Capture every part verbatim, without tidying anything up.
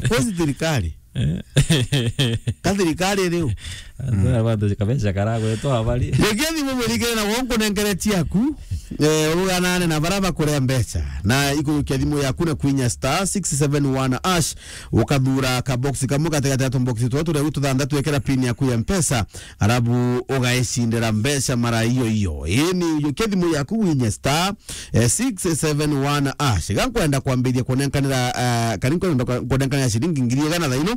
Kosi thirikari. Eh. Ka thirikari riu. Antu aya bantu kabeca karagwetwa abari. Ngethi mumurikire na wonku nenkere ciaku. Eh, uruganane na bara bakuria mbeca. Na ikurukia thimu yaku na kwinya star six seven one hash. Ukathura ka box kamwe katigati ya tumbox twa turia tuthanthatu, ekera pin yaku ya Mpesa. Arabu ugaicindira mbeca mara iyo iyo. Ii ni ujukia thimu yaku winye star, eh, six seven one hash. Ga nkwenda kwambiriria kunenkanira, eh, kari nkwenda kwa-, kunenkanira ciringi ngiri igana thaino.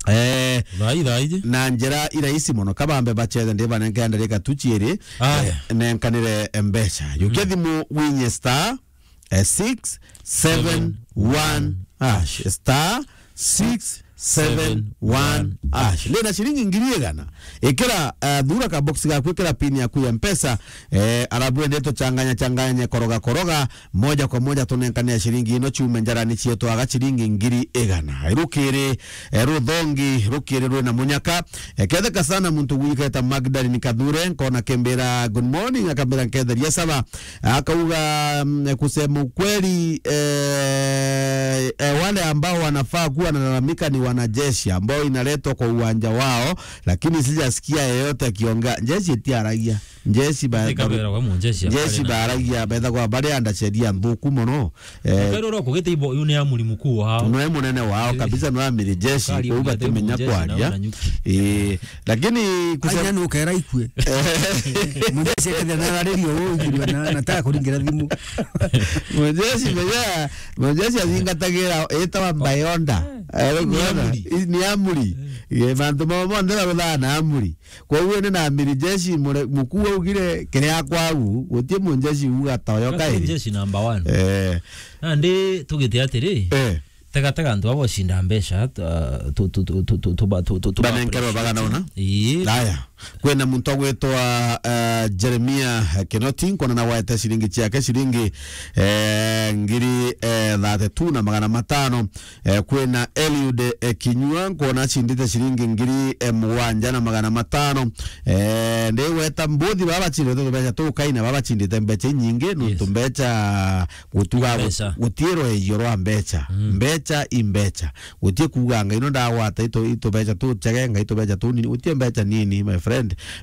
Eh, Thai, thai. Na njira irahisi mono. Kabambe bacethe, ndibanenke ndarika tu ciiri, Aya. eh, nenkanire mbeca. Jukia thimu winye star, eh, six seven one hash. Star six seven one hash. Ndina ciringi ngiri igana. Ikira, eh, thura ka box gaku, ikira pin yaku ya Mpesa, eh, arabu ende tuchanganya changanya, koroga koroga, moja kwa moja tunenkane ciringi ino ciume njarani cietu aga ciringi ngiri igana. Rukiri, eh, ruthongi, rukiri rwina munyaka. Eh, ketheka sana muntu gwiketa Magdalene Kathure, nkona kembira, "Good morning," akambira, "Nketheria saba." Akauga, mm, kusema ukweli, eh, eh, wale ambao wanafaa kuwa wanalalamika ni wanajeshi ambao inaletwa kwa uwanja wao, lakini sijasikia yeyote akiongea. Njeshi itiaragia. Njeshi ba-, Tika bera wa munjeshi njeshi akari na baragia, betha kwa bari anda sheria nthuku mono. Eh, Kairo ro kugite ibo, yu ni amuri mukuu wao. Noe munene wao kabisa, no amiri jeshi, Kari kwa uga ugite temenya munjeshi na kwaria. Una nyuki. Eh, lakini kusema Anya nukera ikue. Munjeshi akethira na rariri o igirwe na, na ta kuringira thimu. Munjeshi meja, munjeshi azingatagira etawa mbayonda. Eh, ni amuri. Ni amuri. Eh, bantu mao monthe baruthaa na amuri. Koguo ni na amiri jeshi mure-, mukuu augire, "Kiria kwagu, guti munjeshi uga toyo Guti kai." Jeshi number one. Eh. Nandi tugite atiri, Eh. tega, tega antu abo cinda mbeca, tu, tu, Banenkerwe bagana una? Ii. Aya. Kwina muntu agwitwa, eh, Jeremia Kinoti, nkona na waete ciringi ciake ciringi, eh, ngiri, eh, thirty-two na magana matano. Eh, kwina Eliud, eh, Kinyua, nkwona acindite ciringi ngiri, eh, mugwanja na magana matano. Eh, ndi gweta mbuthi baba bacindite tubeca tukaina, baba bacindite mbeca inyingi, nontu Yes. mbeca gutuga Mbeca. Gutirwe iyo rwa mbeca. Mm. Mbeca i mbeca. Gutie kuuga ngai no ndagwata itu, itubeca tuchege, ngai tubeca tunini. Gutie mbeca nini, my friend.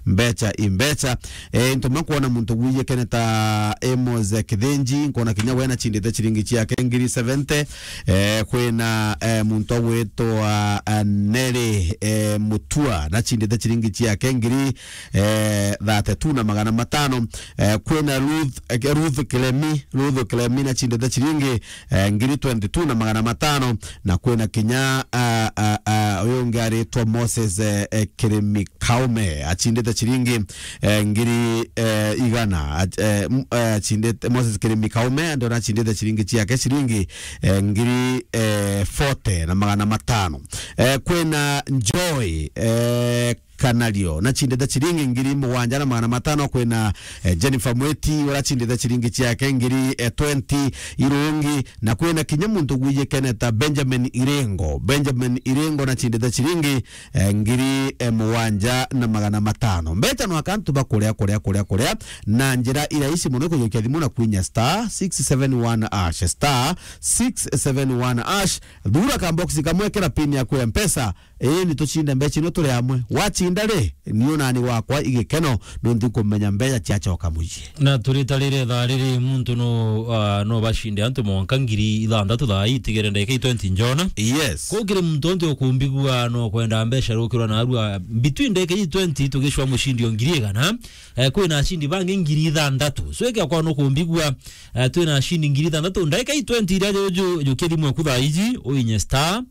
Mbeca i mbeca. Eh, into makwona muntu gwiyekene ta Amos Kithinji, nkona kinya we nachindite ciringi ciake ngiri seventy. Eh, kwina, eh, muntu agwitwa, eh, Neri, eh, Mutua, nachindite ciringi ciake ngiri, eh, thirty-two na magana matano. Eh, kwina Ruth, eh, Ruth Kilemi, Ruth Kilemi nachindite ciringi, eh, ngiri twenty-two na magana matano. Na kwina kinya, ah, ah, ah, uyu ungi aritwa Moses, eh, eh, Kirimi Kaume, achindite ciringi, eh, ngiri, eh, igana, ach-, eh, m-, eh, achindite, Moses Kirimi Kaume, ndio nachindite ciringi ciake ciringi, eh, ngiri, eh, forty na magana matano. Eh, kwina Joy, eh, Kanario, nachindite ciringi ngiri mugwanja na magana matano. Kwina, eh, Jennifer Mweti, urachindite ciringi ciake ngiri, eh, twenty irungi, na kwina kinya muntu gwijikene ta Benjamin Irengo. Benjamin Irengo nachindite ciringi, eh, ngiri, eh, mugwanja na magana matano. Mbeca no akantu ba kuria, kuria, kuria, kuria, na njira irahisi mono kujukia thimu na kwinya star six seven one hash, star six seven one hash. Thura ka box kamwe, kira pin yaku ya Mpesa, Ii, ni tucinde mbeca ino turi amwe. Wacinda ri, ni unani wakwa igikeno, nunthi kumenya mbeca ciacoka mucii. Na turita riri thaa riri, muntu no, ah, no bacinde antu mwanka ngiri ithanthatu thaa ii itigere ndagika i twenty njona. Yes. Kuu kiri muntu onti ukumbigua no kwenda mbeca rukirwa narua, between ndagika i twenty tugicwa mucindi o ngiri igana, eh, kwina acindi bangi ngiri ithanthatu. So, ikia kwa no kumbigua, eh, twina acindi ngiri ithanthatu. Ndagika i twenty iria ju-, ju-, jukia thimu yaku thaa iji, uinye star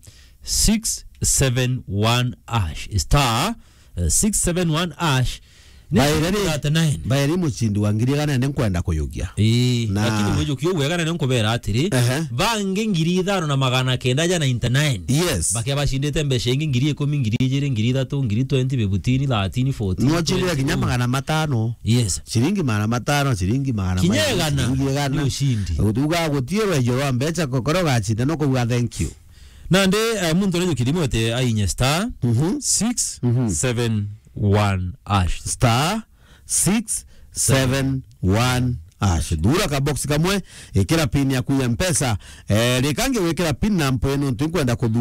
six seven one hash. Star, eh, six seven one hash. Ni Baere ri, thirty-nine. Baere mucindi wa ngiri igana nene nkwenda kuyukia. Ii, na lakini mwijukia uguo igana nene nkubera atiri, ehe, bangi ngiri ithano na magana kenda ja ninety-nine. Yes. Bakia bacindite mbeca ingi ngiri ikumi, ngiri ijiri, ngiri ithatu, ngiri twenty, fifteen, thirteen, fourteen, Nwacindire kinya twenty-two. Magana matano. Yes. Ciringi magana matano, ciringi magana kinya mairi, igana. Ciringi igana. Ni ucindi. Utuga gutirwe ijo rwa mbeca, kokoro gacinda no kuuga thank you. Nandi, eh, muntu uria jukiri mwete ainye star, mhm, six seven one hash. Star six seven one hash. Thura ka box kamwe, ikira pin yaku ya Mpesa. Eh, rikangi wikira pin na mpoe nuntu nkwenda kuthura